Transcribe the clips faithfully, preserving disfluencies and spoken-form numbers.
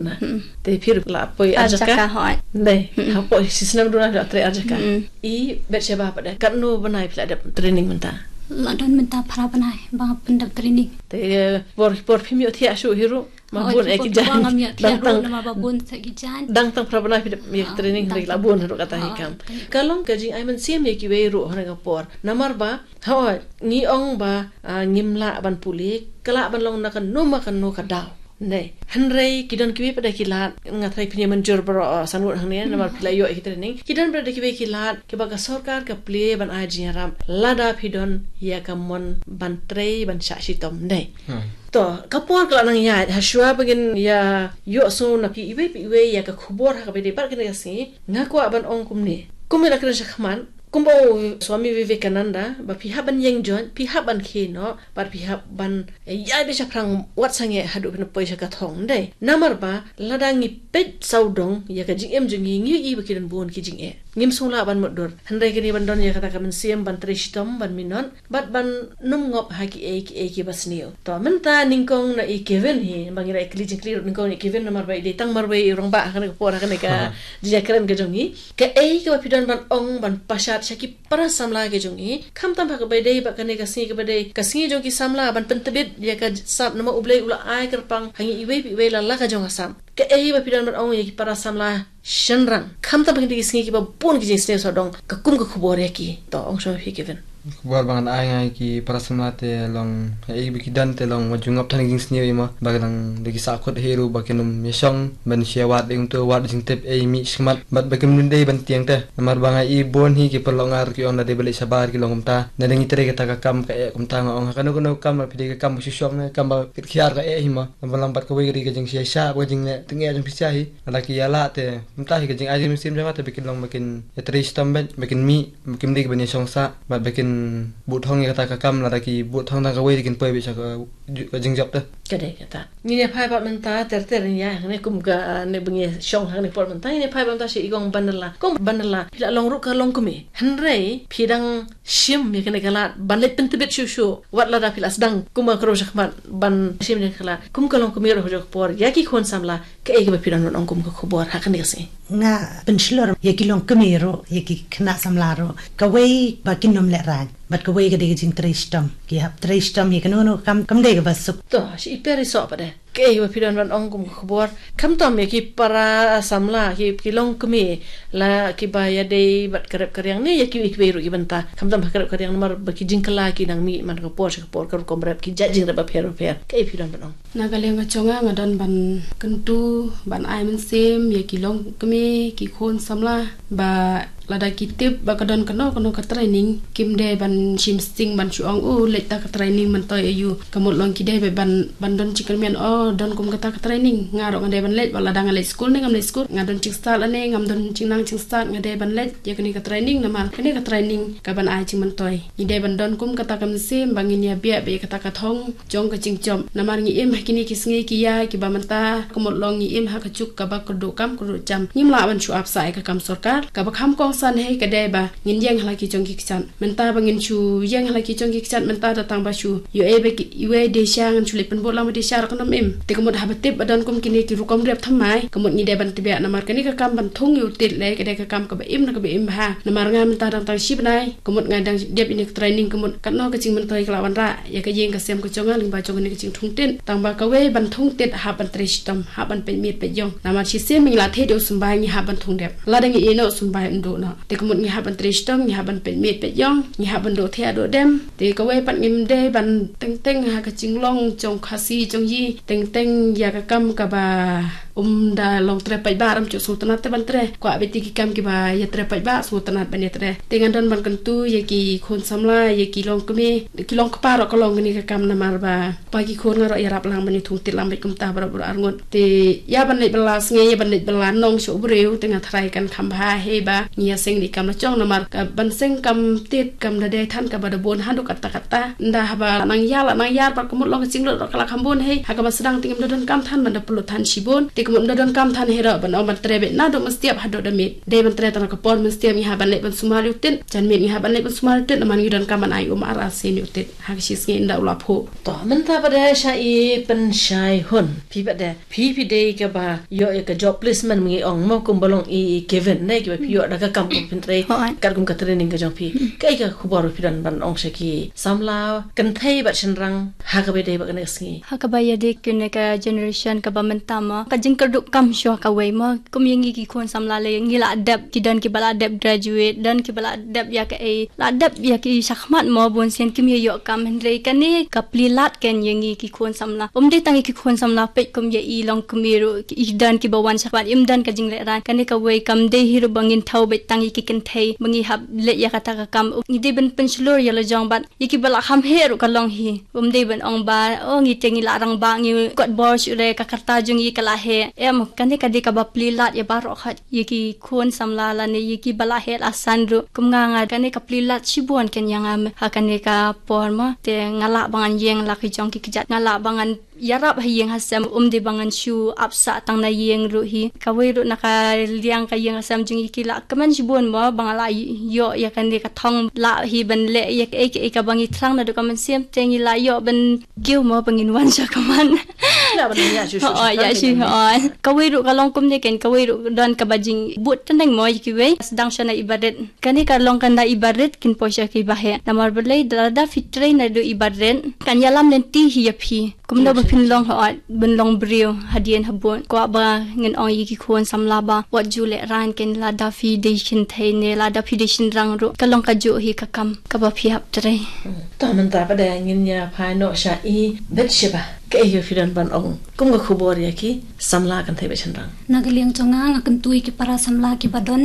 Na. Te phi ruh la poi ar jaka. Ar jaka, hooid. Dei. Hapoh shi snem duna phi la trei ar jaka. I Betsheba pat de, katno bnai phi la dep training mynta? La don mynta phra bnai ba pyndep training. Te por por phim ïohthiah shuh hi ruh. Ma bun eh ki jaiñ. Dang tang, dang tang phra bnai phi dep ïa training, hynrei la bun hi ruh kata hi kam. Ka long ka jingai mynsiem ïa kiwei ruh ha kane ka por. Namar ba, hooid, ngi ong ba, ngim lah ban pule, ka lah ban long na kano ma kano ka daw. Dei. Hynrei ki don kiwei pat de ki lad, nga tharai phin ïa mynjur baroh, san ngut hangne, namar phi la ïoh ïa ki training. Ki don pat de kiwei ki lad kiba ka sorkar ka plie ban ai jingïarap lada phi don ïa ka mon ban trei, ban shah shitom. Dei. To, ka por ka la nang ïaid, ha shuwa ba ngin ïa ïohsngew na phi iwei pa iwei ïa ka khubor ha kaba ïadei bad kane ka sngi, nga kwah ban ong kumne. Kum ïa la kren shakhmat, kumba u Swami Vivekananda, ba phi hap ban ïeng joit, phi hap ban khie noh, bad phi hap ban ïaid beit shaphrang wat sangeh haduh phin poi sha ka thong, dei. Namar ba lada ngi peit sawdong ïa ka jingim jong ngi, ngi ïohi ba ki don bun ki jingeh. Ngim sngewlah ban mutdur. Hynrei kane ban don ïa kata ka mynsiem ban trei shitom, ban minot, bad ban nym ngop ha kiei kiei kiba sniew. To mynta nyngkong na i Kevin hi, ba ngi la ïa kylli jingkylli ruh nyngkong na i Kevin, namar ba i dei tang marwei i rangbah ha kane ka por, ha kane ka jingïakren ka jong ngi. Kaei kaba phi don ban ong ban pashat sha ki para samla ki jong ngi, khamtam ha kaba ïadei bad kane ka sngi kaba dei ka sngi jong ki samla ban pyntbit ïa ka sap, namar U Blei u la ai kyrpang ha ngi iwei pa iwei la la ka jong ka sap. Kaei ba phi don ban ong ïa ki para samla shynrang, khamtam ha kine ki sngi kiba bun ki jingsniew sawdong, ka kum ka khubor ïa ki? To, ong shuwa ma phi Kevin. Khubor ba ngan ai nga ïa ki para samla te long, ïa i ba ki don te long wat ju ngop than ki jingsniew, i ma ba ka dang da ki sahkut hi ruh ba kin ym ïa shong ban shu ïa wad ïa kumto, wad jingtip ei mih shakhmat, bad ba kim dei ban tieng te. Namar ba nga i bun hi ki paralok nga ruh ki ong lada dei ban leit shabar ki long kumta, lada ngi trei kata ka kam ka eh kumta. Nga ong ha kano kano ka kam, lada phi dei ka kam ba shu shong ne kam ba kit khiar ka eh hi ma. Namar lang bad kawei ka dei ka jingshai shah bad ka jingleh tyngeh jong phi sha hi. Lada ki ïa lah te kumta hi ka jingai jingmynsiem jong nga te ba kin long ba kin ïa trei shitom beit, ba kin mih, ba kim dei ban ïa shong sah, bad ba kin bud thong ïa kata ka kam, lada ki bud thong tang kawei te kin poi beit sha ka ju-, ka jingjop te. Ka dei kata. Ngin ïa phai pat mynta ter ter, ngin ïa hangne kum kane ba ngi shong hangne por mynta, ngin ïa phai pat mynta sha i Kong Banla. Kong Banla, phi la long ruh ka longkmie, hynrei phi dang shim ïa kane ka lad ban leit pyntbit shuh shuh, wat lada phi la sdang kum ka riew shakhmat ban shim ïa kane ka lad. Kum ka longkmie ruh ha kajuh ka por ïa ki khun samla, kaei kaba phi don ban ong kum ka khubor ha kane ka sngi? Nga pynshlur ïa ki longkmie ruh, ïa ki khynnah samla ruh, kawei ba kin ym lehraiñ, bad kawei ka dei ka jingtrei shitom. Ki hap trei shitom ïa kano kano ka kam, kam dei kaba suk. To, shi i Peri Soh pat de, kaei ba phi don ban ong kum ka khubor, khamtam ïa ki para samla, ki, ki longkmie, la kiba ïadei bad ka rep ka riang ne ïa kiwei kiwei ruh ki bynta, khamtam ha ka rep ka riang, namar ba ki jingkylla ki nang mih man ka por sha ka por, ka rukom rep, ki jait jingrep bapher bapher. Kaei phi don ban ong? Na ka liang ka jong nga, nga don ban kyntu, ban ai mynsiem ïa ki longkmie, ki khun samla, ba lada ki tip ba ka don kano kano ka training, kim dei ban shim sting ban shu ong, "Oh, leit ta ka training myntoi aïu." Ka mut long ki dei ban, ban don jingkyrmen, "Oh, don kum kata ka training, nga ruh nga dei ban leit, wat lada nga leit skul ne ngam leit skul, nga don jingstad lane ngam don jingnang jingstad, nga dei ban leit ïa kane ka training, namar kane ka training ka ban ai jingmyntoi." Ngi dei ban don kum kata ka mynsiem ba ngin ïa biah beit ïa kata ka thong jong ka jingjop. Namar ngi im ha kine ki sngi ki ïa kiba mynta, ka mut long ngi im ha ka juk kaba kyrduh kam kyrduh jam. Ngim lah ban shu ap sah ïa ka kam sorkar. Kaba kham kongsan hi ka dei ba ngin ïeng ha la ki jong ki kjat. Mynta ba ngin shu ïeng ha la ki jong ki kjat mynta da tang ba shu ïoh ei ba ki iwei dei sha, ngan shu leit pynbud lang ba dei sha ruh kan ym im. Te ka mut haba tip ba don kum kine ki rukom rep thymmai, ka mut ngi dei ban tbiah, namar kane ka kam ban thung ïa u tit lei ka dei ka kam kaba im na kaba im bha. Namar nga mynta dang tang shi bnai, ka mut nga dang dep ïa kane ka training, ka mut katno ka jingmyntoi ka la wanrah ïa ka ïing ka sem ka jong nga lyngba jong kane ka jingthung tit. Tang ba kawei ban thung tit hap ban trei shitom, hap ban peit miet peit ïong. Namar shisien ba ngi la thied ïa u symbai ngi hap ban thung dep. Lada ngi ïeh noh u symbai un duh noh. Te ka mut ngi hap ban trei shitom, ngi hap ban peit miet peit ïong, ngi hap ban duh thiah duh dem. Te kawei pat ngim dei ban teng teng ha ka jinglong jong Khasi jong ngi, teng teng ïa ka kam kaba ym da long trei paidbah, ym ju sngewtynnat te ban trei. Kwah beit ïa ki kam kiba ïa trei paidbah, sngewtynnat ban ïa trei. Te ngan don ban kyntu ïa ki khun samla, ïa ki longkmie, ki longkpa ruh ka long kane ka kam, namar ba pa ki khun nga ruh ïarap lang ban ïa thung tit lang beit kumta baroh baroh arngut. Te ïa ban leit bylla sngi, ïa ban leit bylla nong sha u briew, te nga tharai kan kham bha hi ba ngi ïa seng ïa ki kam la jong, namar ka ban seng kam tit kam da dei than kaba da bun haduh katta katta. Ynda haba la nang ïar, la nang ïar bad ka mut long ka jinglut ruh ka la kham bun hi. Ha kaba sdang te ngim da donkam than ban da pynlut than shibun. Te Ngam da donkam than hi ruh ban ong ban trei beit naduh mynstep haduh da miet. Dei ban trei tang ka por mynstep ngi hap ban leit ban sumar ïa u tit. Janmiet ngi hap ban leit ban sumar ïa u tit namar ngi donkam ban ai um ar ar sien ïa u tit. Ha ka shi sngi ynda u la phuh. To mynta pat de sha i Pynshai Hun. Phi pat de phi phi dei kaba ïoh ïa ka job placement, ngi ong mo, kumba long i Kevin ne, kiba phi ïoh da ka kam kum pyntrei. Hooid. Katkum ka training ka jong phi. Kaei ka khubor phi don ban ong sha ki samla kynthei bad shynrang ha kaba dei bad kane ka sngi? Ha kaba ïadei kane ka generation kaba mynta mo, ka jingkyrduh kam shuwa kawei mo. Kum ïa ngi ki khun samla lei ngi la dep, ki don kiba la dep graduate, don kiba la dep ïa kaei, la dep ïa ki shakhmat mo, bun sien kim ïoh kam, hynrei kane ka plie lad ken ïa ngi ki khun samla. Um dei tang ïa ki khun samla peit, kum ïa i longkmie ruh, i don kiba wan shakhmat, im don ka jinglehrain. Kane kawei kam dei hi ruh ba ngin thaw beit tang ïa ki kynthei ba ngi hap leit ïa kata ka kam. Ngi dei ban pynshlur ïa la jong bad ïa kiba la kham heh ruh ka long hi. Um dei ban ong ba, oh, ngi te ngi la rangbah, ngi kot bor shuh re, ka karta jong ngi ka la heh. Em, kane ka dei kaba plie lad ïa baroh khoit, ïa ki khun samla lane ïa kiba la heh la san ruh. Kum nga, nga kane ka plie lad shibun ken ïa nga ha kane ka por mo. Te nga lah ba ngan ïeng la ki jong ki kjat, nga lah ba ngan ïarap ha ïing ha sem, um dei ba ngan shu ap sah tang na ïing ruh hi. Kawei ruh na ka liang ka ïing ka sem jong ngi ki la kmen shibun mo ba nga la ïoh ïa kane ka thong lah hi ban leh ïa kaei kaei kaba ngi thrang naduh ka mynsiem, te ngi la ïoh ban kiew mo ba ngin wan sha command. Lah ban ïa shu shu. Oh, ïa shu. Oh. Kawei ruh ka long kumne ken, kawei ruh don kaba jingbud tneng mo ïa kiwei. Sdang sha na i barit. Kane ka long ka na i barit kin poi sha ki baheh. Namar balei, lada phi trei naduh i barit kan ïalam lynti hi ïa phi. Kumno ba phin long, hooid, ban long briew hadien habud. Kwah ba ngan ong ïa ki khun samla ba wat ju lehrain ken, lada phi dei kynthei ne lada phi dei shynrang ruh, ka long kajuh hi ka kam kaba phi hap trei. To mynta pat de ngin ïa phai noh sha i Betsheba. Kaei ba phi don ban ong kum ka khubor ïa ki samla kynthei bad shynrang? Na ka liang jong nga, nga kyntu ïa ki para samla kiba don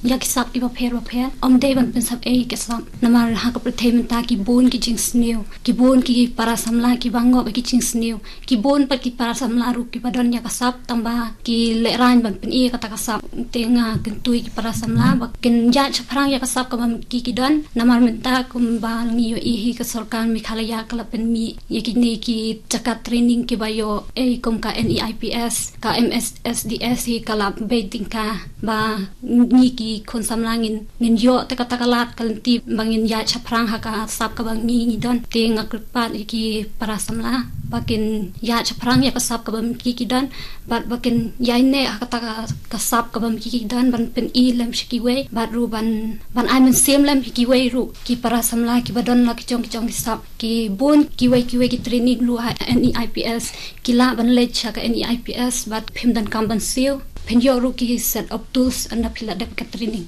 ïa ki sap kiba pher bapher. Ym dei ban pynsap ei ki sap. Namar ha ka pyrthei mynta ki bun ki jingsniew, ki bun ki para samla kiba ngop ïa ki jingsniew, ki bun pat ki para samla ruh kiba don ïa ka sap tang ba ki lehrain ban pyni ïa kata ka sap. Te nga kyntu ïa ki para samla ba kin ïaid shaphrang ïa ka sap kaba ki ki don. Namar mynta kumba ngi ïohi hi ka sorkar Meghalaya ka la pynmih ïa kine ki jaka training kiba ïoh ei kum ka N E I P S, ka M S S D S hi ka la bei tyngka ba ngi ki khun samla ngin, ngin ïoh te kata ka lad ka lynti ba ngin ïaid shaphrang ha ka sap kaba ngi ngi don. Te nga kyrpad ïa ki para samla ba kin ïaid shaphrang ïa ka sap kaba ki ki don, bad ba kin ïaineh ha kata ka, ka sap kaba ki ki don ban pyni lem sha kiwei, bad ruh ban, ban ai mynsiem lem sha kiwei ruh, ki para samla kiba don la ki jong ki jong ki sap. Ki bun kiwei kiwei ki training ruh ha N E I P S, ki lah ban leit sha ka N E I P S, bad phim donkam ban siew, phin ïoh ruh ki set of tools ynda phi la dep ka training.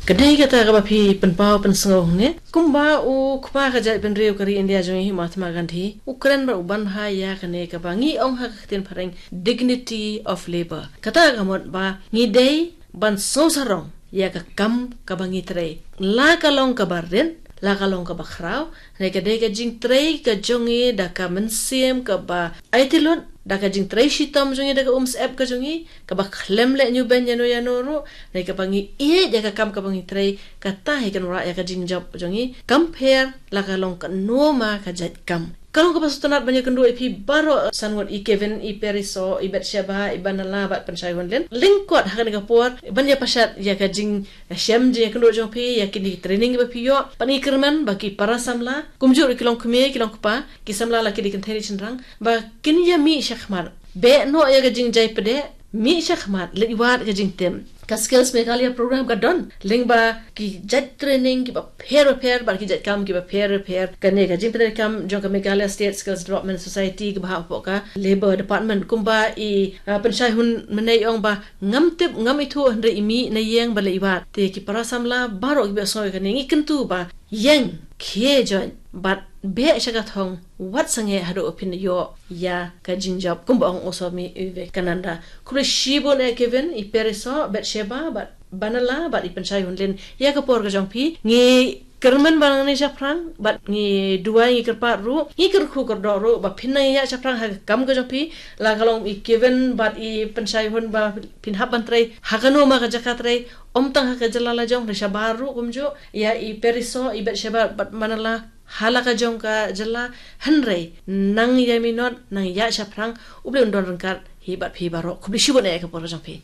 Ka dei kata kaba phi pynpaw pynsngew ne? Kumba u kpa ka jaitbynriew ka ri India jong ngi hi Mahatma Gandhi u kren bad u ban bha ïa kane kaba ngi ong ha ka ktien phareng dignity of labor. Kata ka mut ba ngi dei ban sngewsarong ïa ka kam kaba ngi trei, la ka long kaba rit, la ka long kaba khraw. Ne ka dei ka jingtrei ka jong ngi da ka mynsiem kaba aiti lut, da ka jingtrei shitom jong ngi, da ka umsyep ka jong ngi, kaba khlem leh ñiewbeiñ ïano ïano ruh. Ne kaba ngi ïeit ïa ka kam kaba ngi trei, kata hi kan wanrah ïa ka jingjop jong ngi. Kam pher la ka long kano ma ka jait kam. Ka long kaba sngewtynnat ban ïakynduh ïa phi baroh san ngut, i Kevin, i Periso, i Betsheba, i Banala bad Pynshai Hunlin. Lyngkot ha kane ka por ban ïapashat ïa ka jingshem jingïakynduh jong phi ïa kine ki training ba phi ïoh, bad ngi kyrmen ba ki para samla kumjuh ruh ki longkmie ki longkpa, ki samla la ki dei kynthei ne shynrang, ba kin ïa mih shakhmat, beh noh ïa ka jingjai pdeng, mih shakhmat, leit wad ka jingtip. Ka Skills Meghalaya program ka don lyngba ki jait training kiba pher bapher bad ki jait kam kiba pher bapher. Kane ka jingpyntreikam jong ka Meghalaya State Skills Development Society kaba hap hapoh ka Labour Department, kumba i, ah, Pynshai Hun mynne i ong ba ngam tip, ngam ithuh, hynrei i mih na ïing ba leit wad. Te ki para samla baroh kiba ïohsngew ïa kane, ngi kyntu ba ïeng khie join bad beh sha ka thong, wat sangeh haduh ba phin ïoh ïa ka jingjop, kumba ong u Swami Vivekananda. Khublei shibun eh Kevin, i Periso, Betsheba bad Banala bad i Pynshai Hunlin ïa ka por ka jong phi. Ngi kyrmen ba ngan ïaid shaphrang bad ngi duwai, ngi kyrpad ruh, ngi kyrkhu kyrdoh ruh ba phin nang ïaid shaphrang ha ka kam ka jong phi. La ka long i Kevin bad i Pynshai Hun ba phin hap ban trei ha kano ma ka jaka trei, ym tang ha ka jylla la jong, hynrei shabar ruh kumjuh. Ïa i Periso, i Betsheba bad Banala ha la ka jong ka jylla, hynrei nang ïai minot, nang ïaid shaphrang, U Blei un don ryngkat Hi bad phi baroh, khublei shibun ïa ka por jong phi.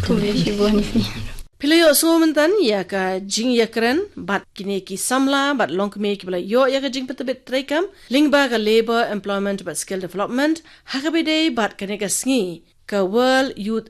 Khublei shibun ïa phi. Phi la ïoh sngewbha mynta ïa ka jingïakren bad kine ki samla bad longkmie kiba la ïoh ïa ka jingpyntbit treikam lyngba ka Labour, Employment bad Skill Development ha kaba ïadei bad kane ka sngi ka World Youth